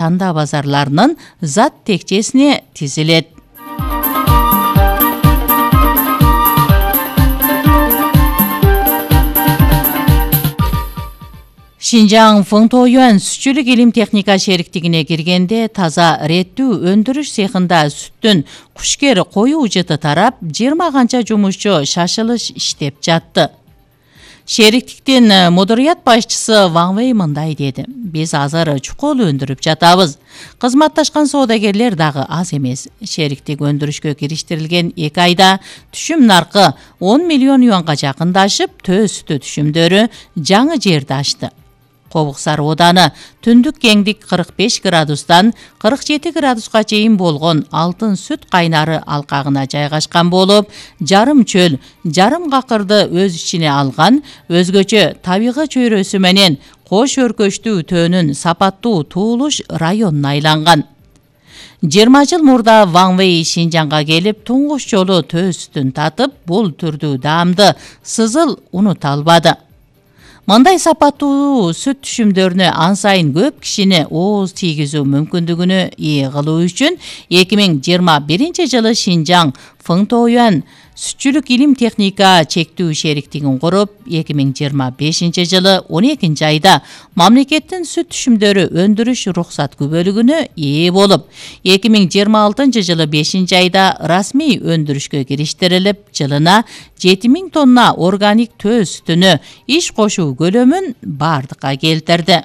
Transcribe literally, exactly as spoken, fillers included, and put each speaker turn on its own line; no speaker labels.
тандаа базарларынын зат текчесине тизилет. Шинжаң Фыңтоюан сүтчүлүк илим техника шериктигине киргенде таза реттүү өндүрүш цехында сүттүн кушкер коюу жыты тарап, жыйырма канча жумушчу шашылыш иштеп жатты. Шериктиктин мудурият башчысы Ван Вэй мындай деди: "Биз азыр чукул өндүрүп жатабыз. Кызматташкан соодагерлер дагы аз эмес. Шериктик өндүрүшкө кириштирилген эки айда түшүм наркы он миллион юанга жакындашып, төө сүтү түшүмдөрү жаңы жерди ачты. Кобуксар ооданы түндүк кеңдик кырк беш градустан кырк жети градуска чейин болгон алтын сүт кайнары алкагына жайгашкан болуп, жарым чөл, жарым какырды өз ичине алган, өзгөчө табигый чөйрөсү менен кош өркөчтүү төөнүн сапаттуу туулуш районуна айланган. жыйырма жыл мурда Ван Вэй Шинжаңга келип, туңгуш жолу төө сүтүн татып, бул түрдүү даамды сызыл унута албады. Мындай сапаттуу сүт түшүмдөрүнө ан сайын көп кишини ооз тийгизүү мүмкүндүгүнө ээ кылуу үчүн эки миң жыйырма биринчи жылы Шинжаң Фыңтоюан сүтчүлүк илим техника чектүү шериктигин куруп, эки миң жыйырма бешинчи жылы он экинчи айда мамлекеттин сүт түшүмдөрү өндүрүш уруксат күбөлүгүнө ээ болуп, эки миң жыйырма алтынчы жылы бешинчи айда расмий өндүрүшкө кириштирилип, жылына жети миң тонна органик төө сүтүнө иш кошуу көлөмүн бардыкка келтирди.